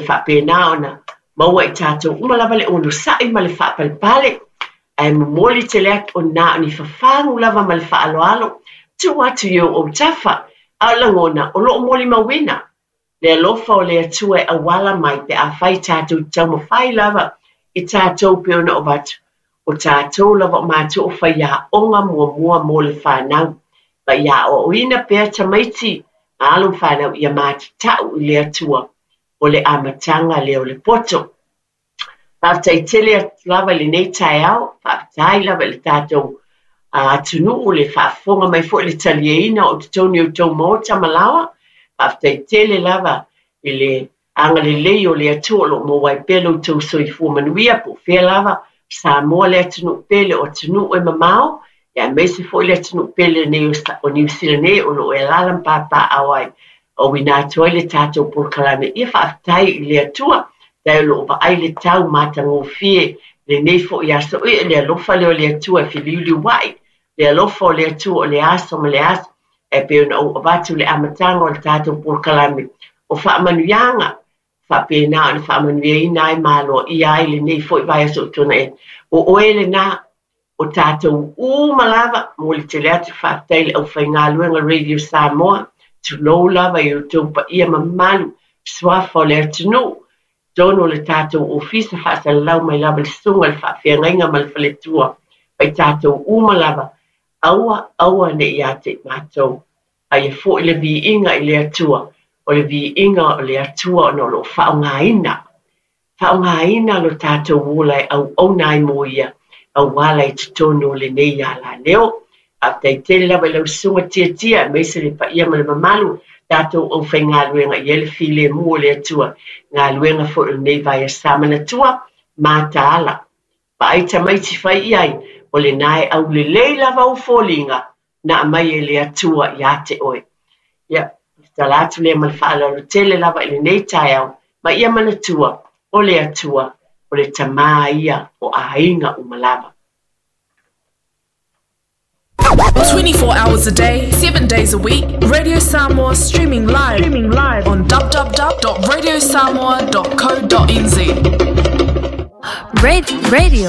Faapena ona maua e i tatou uma lava le onosai ma le faapalepale, ae momoli tele atu o na o ni fafagu lava ma le faaaloalo, tuu atu i ou autafa, a o lagona o lo o molimauina le alofa o le Atua e auala mai pe afai tatou te taumafai lava i tatou pei ona avatu, o tatou lava o matua o faiaoga muamua mo le fanau, ma ia aoaoina pea tamaiti ma alo ma fanau ia matatau i le Atua o le amataga lea o le poto. Faafetai tele atu lava i lenei taeao, faafetai lava i le tatou atunuu le faafofoga mai foi le taliaina o totonu i outou maota ma laoa. Faafetai tele lava i le agalelei o le Atua o lo o maua ai pea lo outou soifua manuia po o fea lava Samoa le atunuu pele o atunuu e mamao, aemaise foi le atunuu pele nei o Niu Sila nei o lo o e alaala ma papaaao ai, auina atu ai le tatou polokalame. Ia faafetai i le Atua, faafetai o lo o vaai le tau matagofie lenei foi aso. Ia le alofa lea o le Atua e feliuliuai, le alofa o le Atua o le aso ma le aso, e pei ona ou avatu le amataga o le tatou polokalame o faamanuiaga, faapena ona faamanuiaina ai ma aloaia ai lenei foi vaiaso ua tuanai atu. O oe lena, o tatou uma lava, momoli tele atu faafetai i le aufaigaluega Radio Samoa, tulou lava i outou paia mamalu, suafa o le atunuu, totonu o le tatou ofisa faasalalau mai lava le susuga i le faafeagaiga ma le faletua, ma i tatou uma lava, aua aua ne i ia te i matou, a ia foi le viiga i le Atua, o le viiga o le Atua ona o lo o faaaogaina, faaaogaina lo tatou ola e auauna ai mo ia, auala i totonu o lenei alaleo. Faafetai tele lava i lau susuga Tiatia, aemaise le paia ma le mamalu, tatou aufaigaluega i ai le filemu o le Atua, galuega foi o lenei vaiaso manatua, mataala. Vaai tamaiti fai i ai, o lena e aulelei lava ou foliga, na aumai e le Atua ia te oe. Ia, tala atu lea ma le faaaloalo tele lava i lenei taeao, ma ia manatua, o le Atua, o le Tama ia o aiga uma lava. 24 hours a day, 7 days a week, Radio Samoa streaming live, streaming live on www.radiosamoa.co.nz. Radio.